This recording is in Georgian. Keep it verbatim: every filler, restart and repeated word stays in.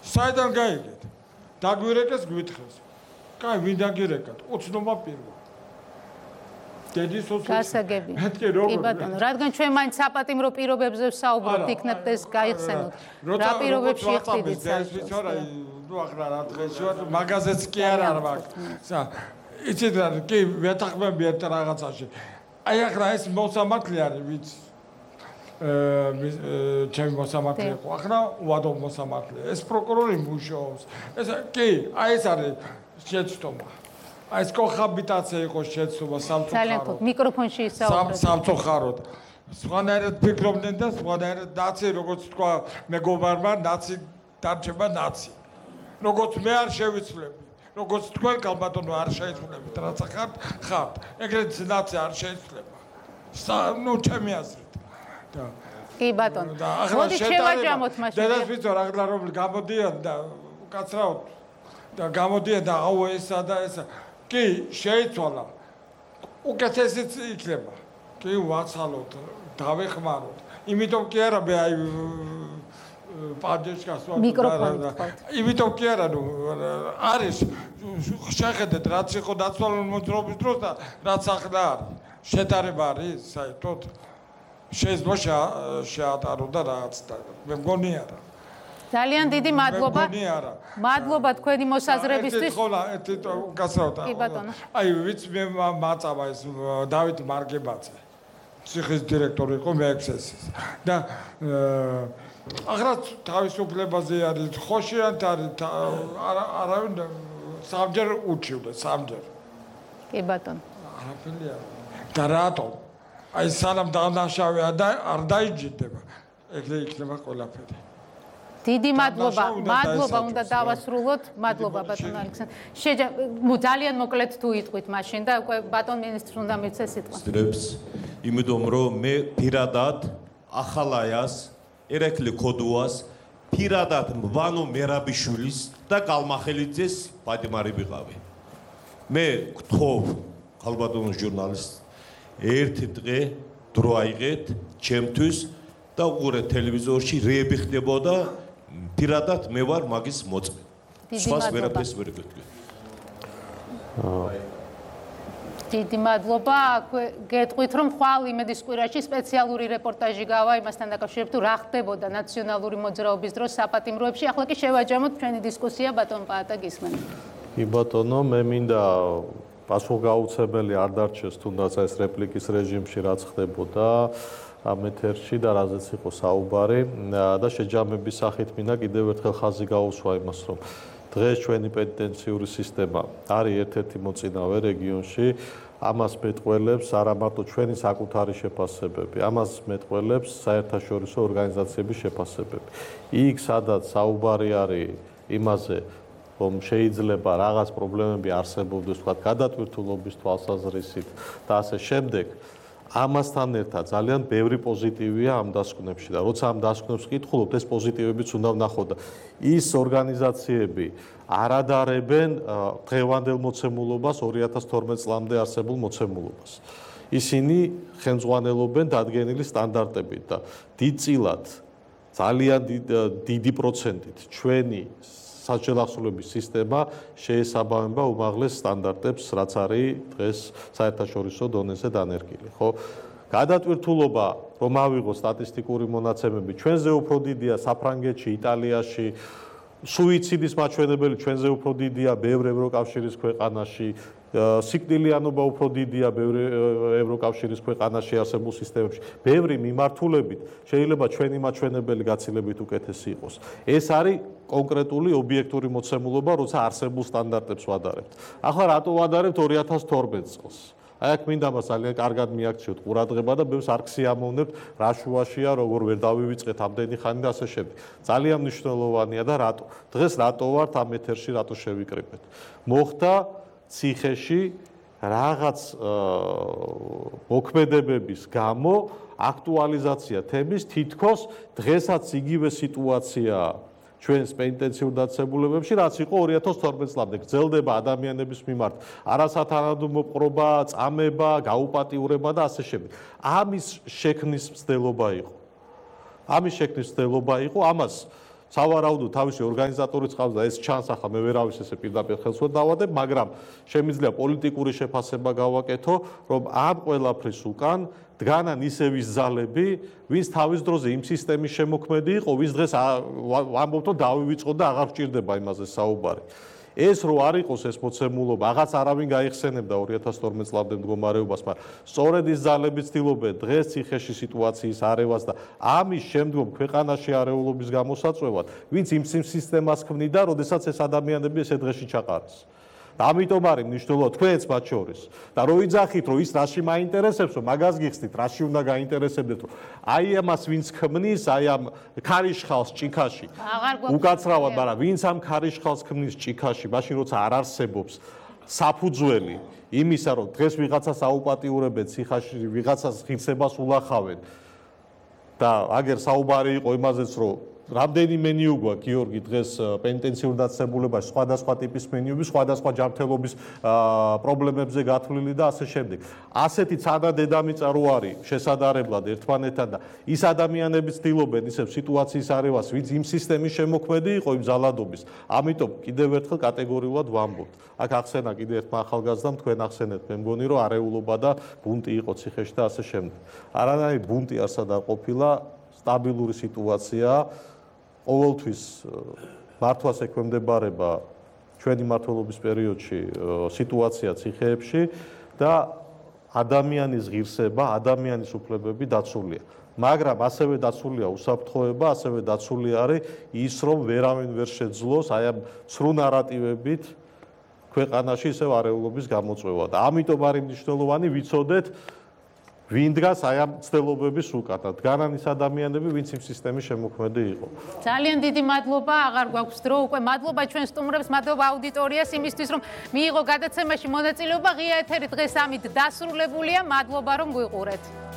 საიდან გაიგეთ? დაგვირეკეს გვითხრეს. კაი, ვინ დაგირეკათ? უცნობა პირველ. დედის ოცნობა. გასაგები. მეთქე როგორ? კი ბატონო, რადგან ჩვენ მაინც საპატიმრო პირობებზე ვსაუბრობთ, იქნებ ეს გაიხსენოთ. რა პირობებში ხდიდით საერთოდ? ნუ ახლა რა დღეში ვარ, მაგაზეც კი არ არ მაქვს. სა, იცით რა, კი ვეთახმები ერთ რაღაცაში. აი ახლა ეს მოსამართლე არის, ვიცი. აა ჩემი მოსამართლე იყო. ახლა უადო მოსამართლე. ეს პროკურორი მუშაობს. ეს კი, აი ეს არის შეცდომა. აი ეს კოჰაბიტაცია იყო შეცდომა სამწუხაროდ. ძალიან ხო, მიკროფონში ისაუბრეთ. სამწუხაროდ. სხვანაირად ფიქრობდნენ და სხვანაირად ნაცი, როგორც თქვა, მეგობარმა ნაცი დარჩება ნაცი. როგორც მე არ შევიცვლები, როგორც თქვენ კალბატონო არ შეიცვლებით, რაც ახართ, ხართ. ეგრეთ ნაცი არ შეიცვლება. ნუ ჩემი აზრით. და კი ბატონო. მოდი შევაჯამოთ მაშინ. დედას ვიცო რა რომ გამოდიან და უკაცრავთ და გამოდიან და აუ ესა და ესა. კი, შეიცვალა. უკეთესიც იქნება. კი, ვაცალოთ, დავეხმაროთ. იმიტომ კი არა მე აი პაჯეშკას ვარ. მიკროფონი. იმიტომ კი არა, ნუ არის შეხედეთ რაც იყო დაცვალული მოძრაობის დროს და რაც ახლა არის. შეტარება არის საერთოდ. შეიძლება შეატარო და რაც და მე მგონი არა. ძალიან დიდი მადლობა. მგონი არა. მადლობა თქვენი მოსაზრებისთვის. ხოლა ერთი გასრავთ. კი ბატონო. აი ვიცი მე მაწავა ეს დავით მარგებაძე. ციხის დირექტორი იყო მეექსესის. და ახლა თავისუფლებაზე არის ხოშიანთ არის არავინ სამჯერ უჩივდა სამჯერ. კი ბატონო. არაფერი არა. და რატომ? აი სანამ დანაშავე არ დაიჯდება, ეგრე იქნება ყველაფერი. დიდი მადლობა, მადლობა უნდა დავასრულოთ. მადლობა ბატონ ალექსანდრე. შეჯა ძალიან მოკლედ თუ იტყვით მაშინ და უკვე ბატონ მინისტრს უნდა მიცე სიტყვა. იმიტომ რომ მე პირადად ახალაიას, ერეკლი ქოდუას, პირადად მვანო მერაბიშვილის და კალმახელიძეს პატიმარი ვიყავი. მე გთხოვ ხალბატონო ჟურნალისტს ერთი დღე დრო აიღეთ ჩემთვის და უყურეთ ტელევიზორში რეები ხდებოდა პირადად მე ვარ მაგის მოწმე. სხვას ვერაფერს ვერ ვეთქვი. დიდი მადლობა. გეტყვით რომ ხვალ იმედის კვირაში სპეციალური რეპორტაჟი გავა იმასთან დაკავშირებით თუ რა ხდებოდა ნაციონალური მოძრაობის დროს საპატიმროებში. ახლა კი შევაჯამოთ ჩვენი დისკუსია ბატონ პაატა გისმენთ. კი ბატონო, მე მინდა პასუხგაუცებელი არ დარჩეს თუნდაც ეს რეპლიკის რეჟიმში რაც ხდებოდა ამ ეთერში და რაზეც იყო საუბარი და შეჯამების სახით მინდა კიდევ ერთხელ ხაზი გაუსვა იმას რომ დღეს ჩვენი პენიტენციური სისტემა არის ერთ-ერთი მოწინავე რეგიონში ამას მეტყველებს არა მარტო ჩვენი საკუთარი შეფასებები ამას მეტყველებს საერთაშორისო ორგანიზაციების შეფასებები იქ სადაც საუბარი არის იმაზე რომ შეიძლება რაღაც პრობლემები არსებობდეს თქვა გადატვირთულობის თვალსაზრისით და ასე შემდეგ ამასთან ერთად ძალიან ბევრი პოზიტივია ამ დასკვნებში და როცა ამ დასკვნებს ვკითხულობთ ეს პოზიტივებიც უნდა ვნახოთ და ის ორგანიზაციები არ ადარებენ დღევანდელ მოცემულობას ორი ათას თორმეტ წლამდე არსებულ მოცემულობას ისინი ხელმძღვანელობენ დადგენილი სტანდარტებით და დიდწილად ძალიან დიდი პროცენტით ჩვენი საჯელახსოვრების სისტემა შეესაბამება უმაღლეს სტანდარტებს, რაც არის დღეს საერთაშორისო დონეზე დანერგილი, ხო? გადატვირთულობა, რომ ავიღო სტატისტიკური მონაცემები, ჩვენზე უფრო დიდია საფრანგეთში, იტალიაში, სუიციდის მაჩვენებელი ჩვენზე უფრო დიდია ბევრ ევროკავშირის ქვეყანაში, სიკვდილიანობა უფრო დიდია ბევრ ევროკავშირის ქვეყანაში არსებულ სისტემებში. ბევრი მიმართულებით შეიძლება ჩვენი მაჩვენებელი გაცილებით უკეთესი იყოს. ეს არის კონკრეტული ობიექტური მოცემულობა, როცა არსებულ სტანდარტებს ვადარებთ. ახლა რატო ვადარებთ ორი ათას თორმეტ წელს? აი აქ მინდა მას ძალიან კარგად მიაქციოთ ყურადღება და ბევრს არ ქსიამოვნებთ რა შუაშია, როგორ ვერ დავივიწყეთ ამდენი ხანი და ასე შემდეგ. ძალიან მნიშვნელოვანია და რატო? დღეს რატო ვართ ამ ეთერში, რატო შევიკრიბეთ? მოხდა ციხეში რაღაც მოქმედებების გამო აქტუალიზაცია თემის თითქოს დღესაც იგივე სიტუაციაა ჩვენს პენიტენციურ დაწესებულებებში, რაც იყო ორი ათას თორმეტ წლამდე. გრძელდება ადამიანების მიმართ არასათანადო მოპყრობა, წამება, გაუპატიურება და ასე შემდეგ. ამის შექმნის მცდელობა იყო. ამის შექმნის მცდელობა იყო, ამას სავარაუდოდ თავისი ორგანიზატორიც ყავს და ეს ჩანს ახლა მე ვერავის ესე პირდაპირ ხელს ვერ დავადებ, მაგრამ შემიძლია პოლიტიკური შეფასება გავაკეთო, რომ ამ ყველაფრის უკან დგანან ისევის ძალები, ვინც თავის დროზე იმ სისტემის შემოქმედი იყო, ვის დღეს ვამბობთ, რომ დავივიწყოთ და აღარ ვჭირდება იმაზე საუბარი. ეს რო არ იყოს ეს მოცემულობა, აღაც არავინ გაიხსენებდა ორი ათას თორმეტ წლამდე მდგომარეობას, მაგრამ სწორედ ის ძალები ცდილობენ დღეს ციხეში სიტუაციის არევას და ამის შემდგომ ქვეყანაში არეულობის გამოსაწვევად, ვინც იმ სისტემას ქმნიდა, როდესაც ეს ადამიანები ესე დღეში ჩაყარეს. ამიტომ არის მნიშვნელოვანი თქვენც მათ შორის და რო იძახით რომ ის რაში მაინტერესებსო მაგას გიხსნით რაში უნდა გაინტერესებდეთ რომ აი ამას ვინც ქმნის აი ამ ქარიშხალს ჭიქაში უკაცრავად მაგრამ ვინც ამ ქარიშხალს ქმნის ჭიქაში მაშინ როცა არ არსებობს საფუძველი იმისა რომ დღეს ვიღაცას აუპატიურებენ ციხაში ვიღაცას ღირსებას ულახავენ და აგერ საუბარი იყო იმაზეც რომ რამდენიმე მენიუ გვაქვს გიორგი დღეს პენიტენციურ დაწესებულებაში სხვადასხვა ტიპის მენიუები, სხვადასხვა ჯანმრთელობის პრობლემებზე გათვლილი და ასე შემდეგ. ასეთი ცადა დედამიწა რო არის შესადარებლად ერთმანეთთან და ის ადამიანები ცდილობენ ისევ სიტუაციის არევას, ვინც იმ სისტემის შემოქმედი იყო იმ ზალადობის. ამიტომ კიდევ ერთხელ კატეგორიულად ვამბობთ. აქ ახსენა კიდევ ერთმა ახალგაზრდამ თქვენ ახსენეთ, მე მგონი რომ არეულობა და ბუნტი იყო ციხეში და ასე შემდეგ. არანაირი ბუნტი არსად არ ყოფილა, სტაბილური სიტუაციაა. ყოველთვის მართვას ექვემდებარება ჩვენი მმართველობის პერიოდში სიტუაცია ციხეებში და ადამიანის ღირსება, ადამიანის უფლებები დაცულია. მაგრამ ასევე დაცულია უსაფრთხოება, ასევე დაცული არის ის, რომ ვერავინ ვერ შეძლოს აი ამ ცრუ ნარატივებით ქვეყანაში ისევ არეულობის გამოწვევა და ამიტომ არის მნიშვნელოვანი ვიცოდეთ ვინ დგას აი ამ ცდილობების უკან და დგანან ის ადამიანები, ვინც იმ სისტემის შემოქმედი იყო. ძალიან დიდი მადლობა, აღარ გვაქვს დრო უკვე. მადლობა ჩვენ სტუმრებს, მადლობა აუდიტორიას იმისთვის, რომ მიიღო გადაცემაში მონაწილეობა. ღია ეთერი დღეს ამით დასრულებულია. მადლობა რომ გვიყურეთ.